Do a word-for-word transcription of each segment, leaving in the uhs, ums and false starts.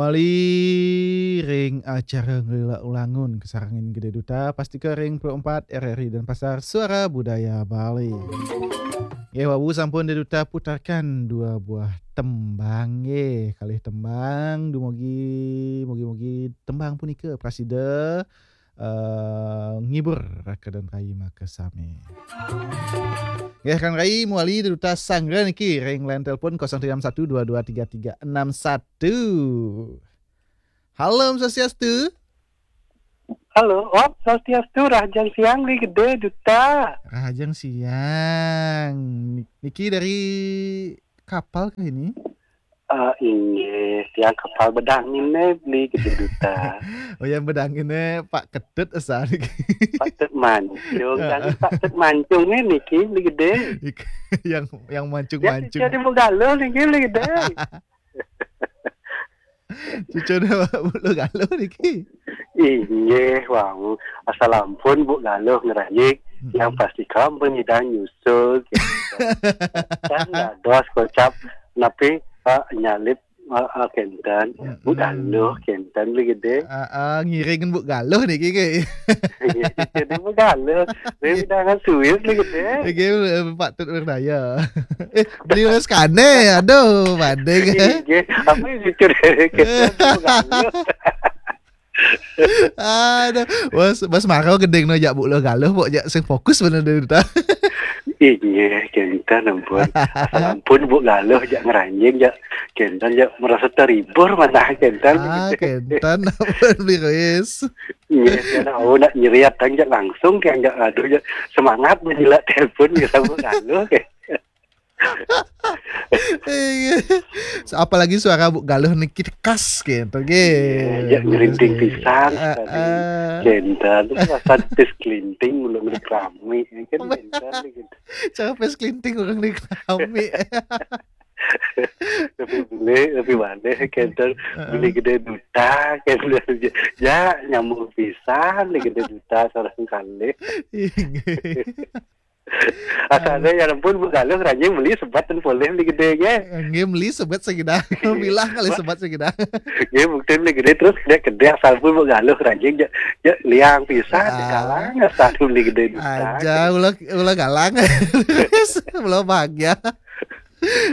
Mali ring acara Ngelila Ulangun kasarengin Gede Duta, pastika ring puluh empat R R I Denpasar, Suara Budaya Bali. Nggih, wau sampun Gede Duta putarkan dua buah tembang, nggih, kalih tembang, dumugi, mugi-mugi tembang punika prasida eh, ngibur raka dan rai makasami. Nggih, Kang Rai, mawali Gede Duta sanggra niki ring line telepon kosong tiga enam satu dua dua tiga tiga enam satu. Halo, Om Swastiastu. Halo, Om Swastiastu, rahajeng siang, Beli Gede Duta. Rahajeng siang. Niki dari kapal kah ini? Eh, inggih, tiang kapal bedanginnya, Beli Gede Duta. Oh, yang bedanginnya Pak Ketut, asa niki. Pak Tut Mancung, kan Pak Tut Mancungnya niki, Beli Gede. Ik-, yang, yang mancung-mancung. Jadi Bu Galuh niki, Beli Gede. Cucuna Bu Galuh niki. Inggih, wau. Asal ampun Bu Galuh ngrayik, yang pasti kampung nyidang nyusul, gitu. Kan dados kocap, napi, eh, nyalip, eh, eh, kenten. Bu Galuh, kenten, Beli Gede. Ah, ah, ngiring Bu Galuh niki, nggih. Jadi Bu Galuh. Saya undangan Swiss, Beli Gede. Nggih, eh, patut berdaya. Eh, Beli Reskane, aduh, banding. Inggih, apa yang cucur kenten, Bu Galuh. Aduh, bos, bos maro gending no jak Bu Galuh, pok jak sing fokus bener deh, ta. Inggih, kenten ampun. Asal ampun Bu Galuh jak ngeranjing, jak kenten, jak merasa terhibur, mana kenten. Ah, kenten ampun, Beli Rois. Inggih, kenten, oh, nak nyeriat kan jak langsung, kan jak, aduh, jak semangat menjilat telepon, gitu, Bu Galuh, kan. Iya. Apalagi suara Bu Galuh niki khas gitu, nggih. Iya, ya, merinding pisan tadi. Heeh. Kenten, rasa tis kelinting, belum dikerami, ya kan, kenten gitu. Cara pes kelinting orang dikerami. Lebih beli, lebih mana, kenten, Beli Gede Duta, kenten. Ya, nyambung pisan, Beli Gede Duta, seorang kali. Inggih. Asalnya ya ampun, Bu Galuh, ranjing beli sebat dan poleh, Beli Gede, nggih. Nggih, beli sebat segidang. Bilang kali sebat segidang. Nggih, bukti Beli Gede terus gede-gede, asal pun Bu Galuh, ranjing, ja, ja, liang pisan, galang, asal Beli Gede. Aja, ulah, ulah galang. Ulah bahagia.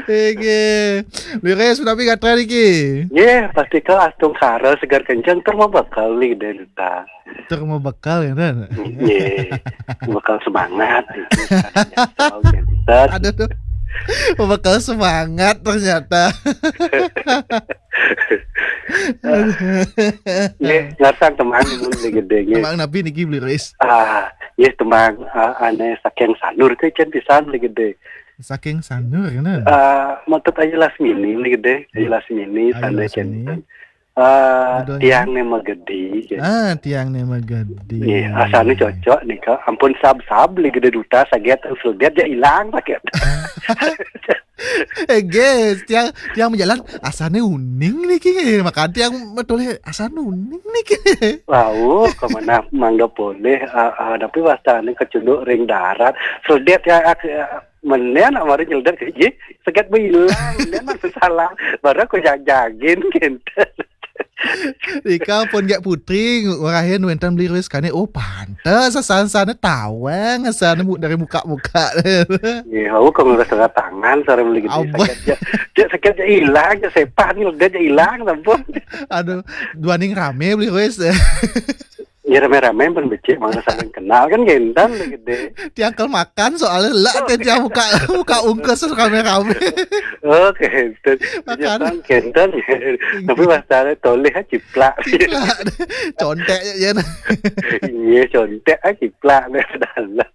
Nggih. Beli Rois, menawi gatra niki? Nggih, pasti ke astungkara segar kenceng, tur mabekal, Beli Gede Duta. Tur mabekal, ya, kan? Nggih. Bekal semangat. Aduh, aduh. Bekal semangat ternyata. Nggih, ngarsang tembang mun Beli Gede, nggih. Tembang napi niki, Beli Rois? Ah, nggih, tembang, ah, ane saking sanur ke cen pisan, Beli Gede. Saking sanur, kan? Ah, maksud Ayu Lasmini, Beli Gede. Ayu Lasmini, Ayu Lasmini. Cen. Eh, Tiang Ne Magedi, gitu. Ah, Tiang Ne Magedi. Nggih, asane cocok nika. Ampun sab-sab, Beli Gede Duta, saget, sudet, ya ilang, saget. Eh, guys, tiang, tiang majalan, asane uning niki, nggih. Makanya tiang matulih, asane uning niki. Wau, kemana mangga boleh, ah, ah, tapi wastane kecunduk ring darat. Sudet ya, ak-, ah, menen, amari nyeldet, nggih, saget ilang, menen, salah. Baru aku jag-jagin, gitu. Nika pun gak putri, ngurahin wenten Beli Rois kane, oh, pantes, asal sana tawang, asal nemu dari muka-muka. Nggih, aku kok ngerasa tangan, sareng Beli Gede, abah. Saget ja, ja, saget ja ilang, ja sepan, ja ilang, sampun. Aduh, duaning rame Beli Rois. Ya, rame-rame pun becik, mangga saling kenal, kan kenten, Beli Gede. Tiang kel makan, soalnya lek teh tiang muka, muka ungkus rame-rame. Oh, kenten. Makan. Kenten, kenten. Tapi masalahnya toleh, ciplak. Ciplak. Contek ya, ya. Iya, contek, ah, ciplak, nih, dalam.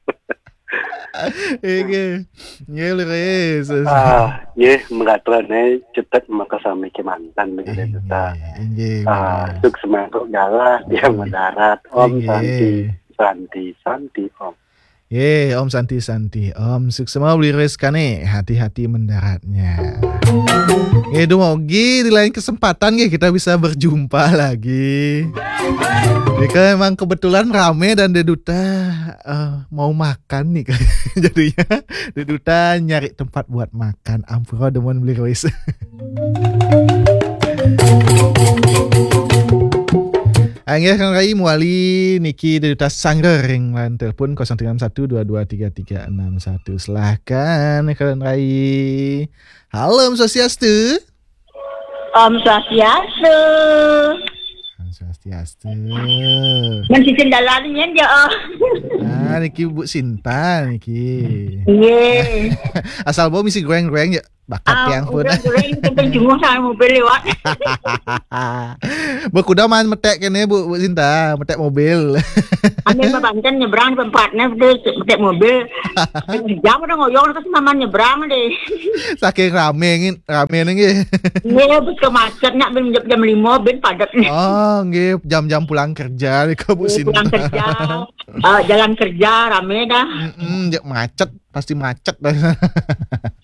Nggih. Nggih, Beli Rois. Ah, nggih, mengatra ne cetet makasami kemanten, Beli Gede Duta. Nggih, nggih, ah, Beli Rois. Suk semangkuk galah, tiang mendarat. Om Santi, Santi, Santi, Om. Nggih, Om Santi, Santi, Om. Suksma Beli Rois kane, hati-hati mendaratnya. Nggih, dumugi di lain kesempatan, nggih, kita bisa berjumpa lagi. Ini kan emang kebetulan rame dan Deduta, eh, mau makan nih. Jadinya Deduta nyari tempat buat makan. Ampura demen Beli Rois. Inggih, Kang Rai, mawali niki dari Duta Sangga ring line telepon kosong tiga enam satu dua dua tiga tiga enam satu. Silahkan, Kang Rai. Halo, Om Swastiastu. Om Swastiastu. Om Swastiastu. Men sisin dalan nyen ya, oh. Ah, niki Bu Sinta niki. Iya. Asal bau misi goreng-goreng ya. Bakat Ah, tiang pun. Udah goreng, kita jenguk sama mobil lewat. Bu, kuda maan metek kene, Bu, Bu Sinta, metek mobil. Ambil Babanten nyebrang tempatnya, udah metek mobil. Jam udah ngoyong, terus maman nyebrang deh. Saking rame, ngin, rame nih, nggih. Iya, bus ke macet, nak ben jam, jam lima, ben padat nih. Oh, nggih, jam-jam pulang kerja nih, Bu Iya, Sinta. Pulang kerja. Eh, jalan kerja, rame dah. Mm-mm, jek macet, pasti macet dah.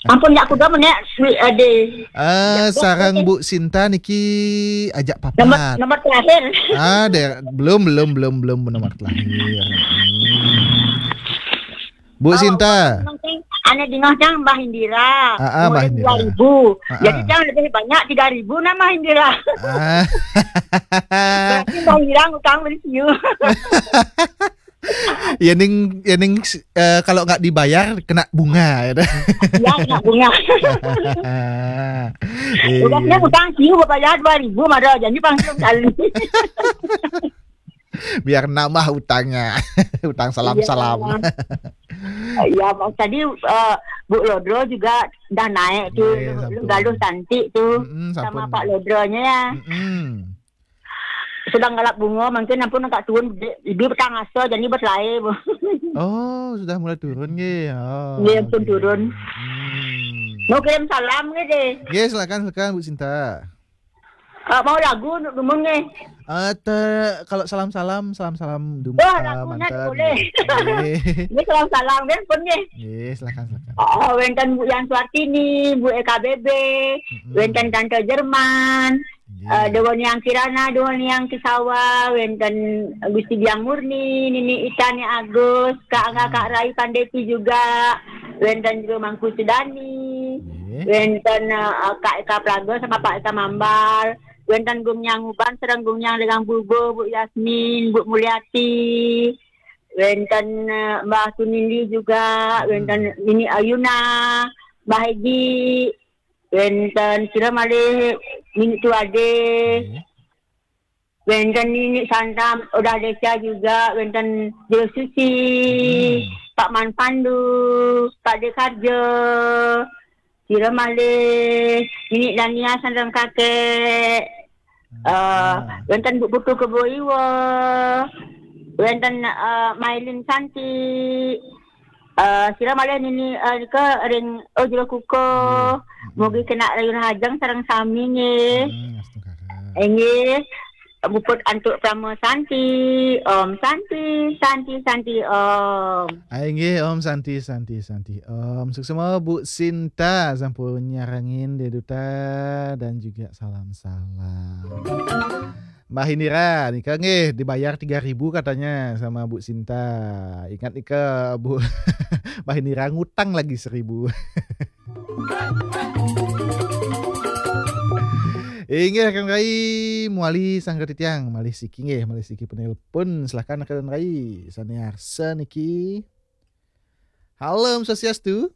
Ampun, ya, kuda menek, sweet, ade. Ah, Ya, sarang ya. Bu Sinta niki ajak Nomor, papat. Nomor terakhir. Ah, deh, belum, belum, belum, belum nomor terakhir. Hmm. Bu Oh, Sinta. Ane dingah dang Mbah Indira. Ah, ah, Mbah Umurnya Indira. Dua ribu. Ah, Jadi ah. Dang lebih banyak tiga ribu nama Indira. Ah. Berarti Mbah Indira ngutang beli siu. Ya ning, ya ning, eh, kalau nggak dibayar kena bunga, ya dah. Iya, kena bunga. Iya. Udah saya utang siu bayar dua ribu, mada jadi pangsil kali. Biar nambah utangnya. Utang salam-salam. Iya. Iya, Bang. Tadi, eh, Bu Lodro juga dah naik tuh. Iya, Lu, lu sampun. Galuh cantik tuh. Mm-mm, sama sampun. Pak Lodronya ya. Mm-mm. Sedang galap bunga, mungkin ampun agak turun, ibu petang asa, jadi berlai, Bu. Oh, sudah mulai turun, nggih. Oh, Nggih, ampun oke. Turun. Hmm. Mau kirim salam nggih, deh. Nggih, silakan, silakan, Bu Sinta. Eh, mau lagu untuk dumun nggih? Eh, te-, kalau salam-salam, salam-salam dum-, Wah, eh, lagunya mantan. Boleh. Nggih. Ini salam-salam, nggih, pun nggih. Nggih, silakan, silakan. Oh, wenten Bu Yan Suartini, Bu E K B B, Mm-mm. Wenten Tante Jerman, Nggih. Eh, Dewa Niang Kirana, Dewa Niang Kisawa, wenten Gusti Biang Murni, Nini Itani Agus, Kak Angga, Kak Hmm. Rai Pandeti juga, wenten juga Mangku Sudani, Nggih. Wenten, eh, Kak Eka Praga sama Pak Eka Mambal, wenten Gung Nyang Uban, sareng Gung Nyang Legang Bulbul, Bu Yasmin, Bu Mulyati, wenten, eh, Mbah Sunindi juga, Hmm. Wenten Nini Ayuna, Mbah Egi, wenten sira malih Nini Tuade. Nggih. Wenten Nini Santam, Odah Desa juga, wenten Jero Susi, Hmm. Pak Man Pandu, Pak Dekarjo, sira malih Nini Dania sareng kakek. Eh, Ah. Wenten Bu Putu Kebo Iwa, wenten, eh, Mailin Santi, eh, sira malih Nini, eh, nika ring, oh, Jero Kuko. Nggih. Mm-mm. Mugi kena rayun hajeng sareng sami nggih. Hmm, astungkara. Inggih, puput antuk Parama Santi. Om Santi, Santi, Santi, Om. Ah, inggih, Om Santi, Santi, Santi, Om. Suksma Bu Sinta sampun nyarengin Dé Duta dan juga salam-salam. Mbah Indira, nika nggih dibayar tiga ribu katanya sama Bu Sinta. Ingat nika, Bu. Mbah Indira ngutang lagi seribu. Inggih, Kang Rai, mawali sangga titiang, malih siki nggih, malih siki penelpon. Silakan, Kang Rai. Sané arsa niki. Halo, Om Swastiastu.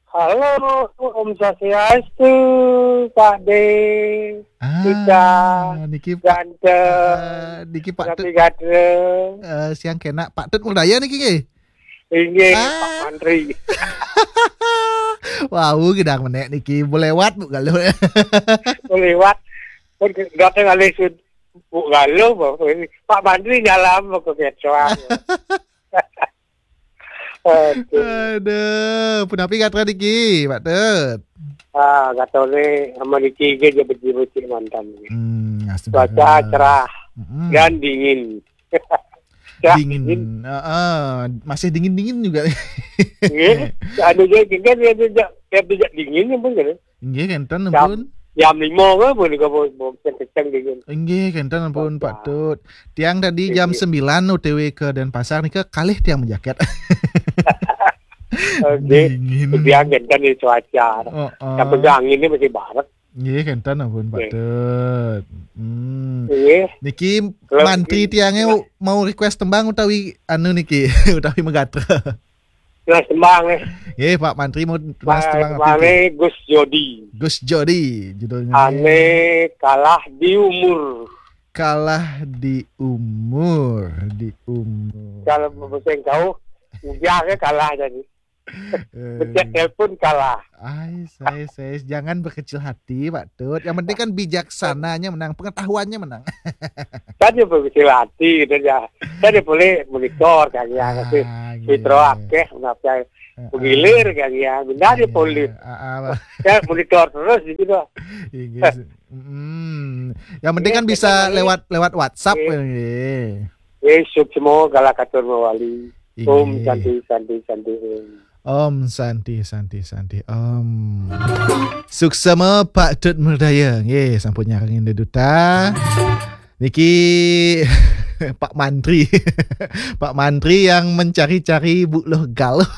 Halo, Om Swastiastu, Pak De. Ah, Ika, niki Pak, Ganteng, ah, niki Pak Rapi Tut. Gatra. Eh, siang kena Pak Tut Murdaya niki nggih? Inggih, ah. Pak Mantri. Wau, gedang menék niki. Bu lewat, Bu Galuh. Bu lewat. Pun gatra ngalih sud-, Bu Galuh, Bu. Pak Mantri nyalam, Bu, kekecoan. Aduh. Aduh, punapi gatra niki, Pak Tut? Ah, gatra ni sama niki ge je becik-becik mantan. Hmm, astagfirullah. Cuaca cerah Mm-mm. Dan dingin. Cerah, dingin. Dingin. Heeh, masih dingin-dingin juga. Nggih, anu je kan dia, dia, dia, dia dingin pun kan. Inggih, kénten jam, ampun. Jam lima ke, boleh ke, boleh, boleh kenceng dingin. Inggih, kénten ampun, Pak Tut. Tiang tadi jam sembilan O T W ke Denpasar nika kalih tiang majaket. Oke. Dingin. Tiang kénten di cuaca. Oh, oh. Yang penting anginnya masih baret. Inggih, kénten ampun, Pak Tut. Hmm. Nggih. Niki Kalau mantri niki- tiangnya mau request tembang utawi anu niki utawi megatra. Jelas tembang eh. Nggih, Pak Mantri mau request tembang apa? Mane Gus Jodi. Gus Jodi judulnya. Ane kalah di umur. Kalah di umur, di umur. Kalau bahasa kau, udah ke kalah jadi. Eh, Pencet telepon kalah. Ais, ais, ais. Jangan berkecil hati, Pak Tut. Yang penting kan bijaksananya menang, pengetahuannya menang. Tadi berkecil hati gitu ya. Tadi boleh monitor kan ya. Tapi Ah, Fitro iya. Akeh ngapa Heeh. Penggilir kan ya. Benda dia Iya. boleh. Ah, ah, Pak. Ya monitor terus gitu dah. Inggih. Mm. Yang penting Iya, kan bisa betul. lewat lewat WhatsApp Iya. Nggih. Eh, sukses semua kalah katur mawali. Inggih. Om Santi Santi Santi Om. Om Santi Santi Santi Om. Suksema Pak Tut Merdaya. Nggih, sampun nyarengin Duta. Niki Pak Mantri. Pak Mantri yang mencari-cari Bu Loh Galuh.